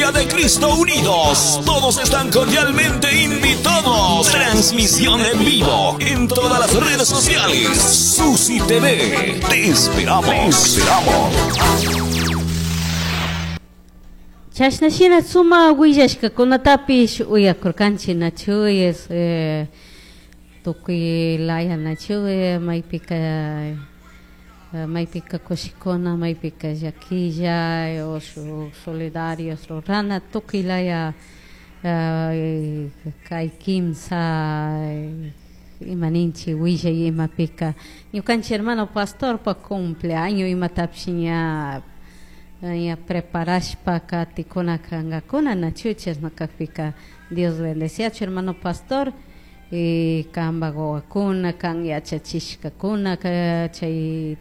Iglesia de Cristo Unidos. Todos están cordialmente invitados. Transmisión en vivo en todas las redes sociales. Susi TV. Te esperamos. Te esperamos. Chashna shina suma willashkakunatapish uyakurkanchik nachu es tukuy laya nachu maypika maypika kushikuna maypika llaquilla o shuk solidarios rurana tukuy laya kay kimsa ima ninchik willay imapika ñukanchik hermano pastorpa cumpleaños imatapish ña ña preparashpa katikuna kankakuna nachu chashna kakpika Dios bendeciachu hermano pastor y kanpak wawakuna kan yachachishkakuna chay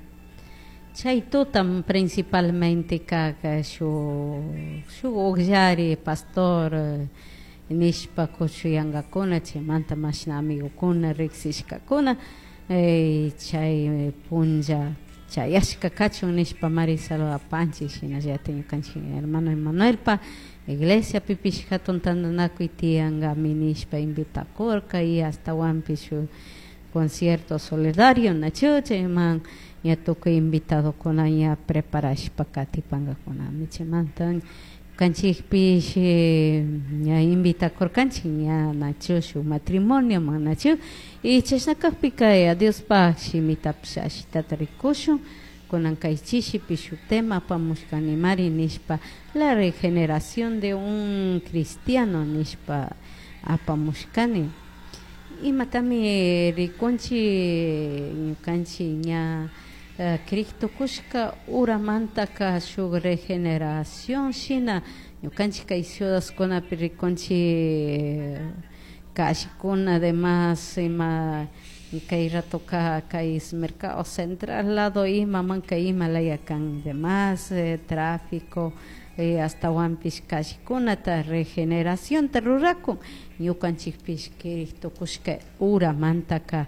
chay tuta principalmente kak shuk shuk ukllari pastor nishpa kushuyankakuna chaymanta mashna amigokuna riksishkakuna chay punlla chayashka kachun nishpa mari saludapanchik shinallatik ñukanchik hermano Emanuelpa iglesia pipish hatun tantanakuy tiyankami nishpa invitakurka y ashtawanpish shuk concierto solidario nachu chayman ña tukuy invitadokuna ña preparashpa katipankakunami chaymanta ñukanchikpish ña invitakurkanchik ña nachu shuk matrimonio nachu y chashna kakpika Diospaj shimitapish ashitata rikushun kunan kay chishipi shuk tema apamushkanimari nishpa la regeneración de un cristiano nishpa apamushkani imatami rikunchik ñukanchik ña Cristo kushka uramantaka shuk regeneración shina ñukanchik kay ciudadkunapi rikunchik kashikuna además ima kay ratoka kay mercado central lado imamanka ima laya kan demás tráfico ashtawanpish kashikunata regeneracionta rurakun ñukanchikpish Cristo kushka uramantaka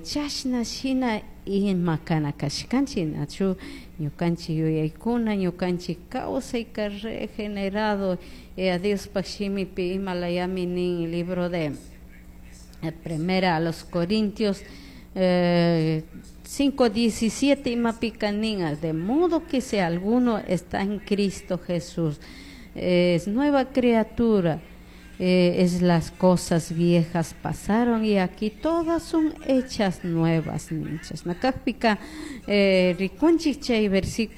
chashna shina ima kana kashkanchik nachu ñukanchik yuyaykuna ñukanchik kawsayka regenerado Diospaj shimipi ima layami nin libro de primera a los Corintios 5:17 imapika nin de modo que si alguno está en Cristo Jesús es nueva criatura, es las cosas viejas pasaron y aquí todas son hechas nuevas. Chashna kakpika rikunchik chay versículo.